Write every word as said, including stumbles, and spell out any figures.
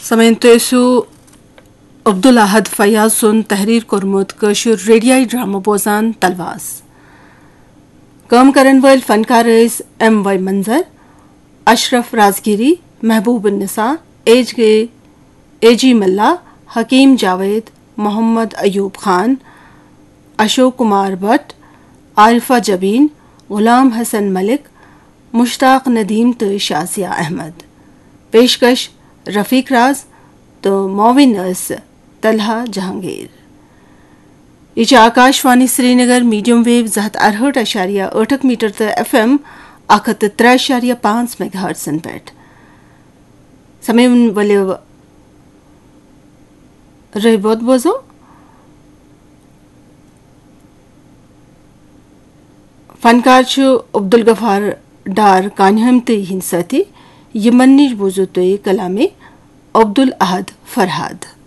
سامعین، تُہۍ ٲسِو عبدالاحد فیاض سُنٛد تحریر کوٚرمُت کٲشُر ریڈیائی ڈرامہ بوزان تلواس۔ کٲم کرن وٲلۍ فنکار ٲسۍ ایم وائی منظر، اشرف رازگیری، محبوب النساء، ایچ گے، اے جی ملا، حکیم جاوید، محمد ایوب خان، اشوک کمار بٹ، عارفہ جبین، غلام حسن ملک، مشتاق ندیم تہٕ شازیہ احمد۔ پیشکش رفیق راز تہٕ معاون ٲس طلحہ جہانگیر۔ یہِ چھِ آکاش وانی سرینگر، میڈیم ویو زٕ ہتھ ارہٲٹھ اعشاریہ ٲٹھ میٹر تہٕ ایف ایم اکھ ہتھ تہٕ ترٛےٚ اعشاریہ پانٛژھ میگا ہرٹزن پٮ۪ٹھ۔ سامعین، ؤلِو رٲوۍ بوٚد بوزو۔ فنکار چھُ عبدالغفار ڈار کانہم تہٕ یِہنٛدۍ سٲتھی۔ یِمن نِش بوٗزِو تُہۍ کلامِ عبدالاحد فرہاد۔